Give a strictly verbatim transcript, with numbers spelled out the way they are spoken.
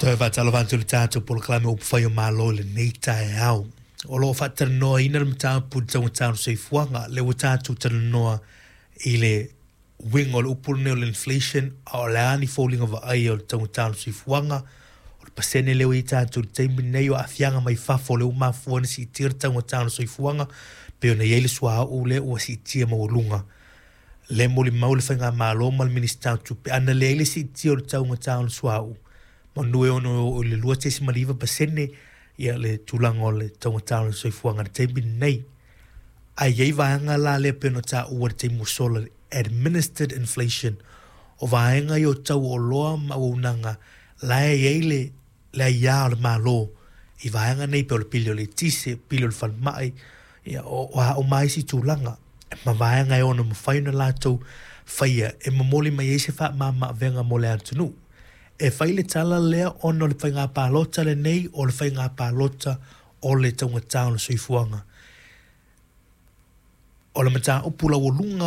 Toe faatalofa atu i le tatou polokalame Upufai o Malo i lenei taeao. O lo o faatalanoaina le mataupu i le taugata o le soifuaga. Lea ua tatou talanoa i le uiga o le upu lenei o le inflation, a o le a ni foliga vaaia o le taugata o le soifuaga, o le pasene lea ua i ai tatou i le taimi lenei, o aafiaga mai fafo lea ua mafua ona siitia le taugata o le soifuaga, pei ona i ai le suauu lea ua siitia maualuga. Lea e molimau le Faigamalo ma le Minisita o Tupe, ana leai le siitia o le taugata o le suauu, manu e ono oo i le lua tesima le iva pasene ia le tulaga o le taugata o le soifuaga i le taimi lenei. Ae i ai vaega la lea pei ona taua i le taimi ua sola, le administered inflation, o vaega ia o tau o oloa ma auaunaga la e i ai le le aia o le Malo i vaega nei pei o le pili o le eletise, pili o le falemai, ia o, o a uma isi tulaga ma vaega e ono mafai ona latou faia e momoli mai ai se faamama-avega mo le atunuu. E fai le tala lea ona o le faiga palota lenei o le faiga palota o le taugata o le soifuaga. O le mataupu laualuga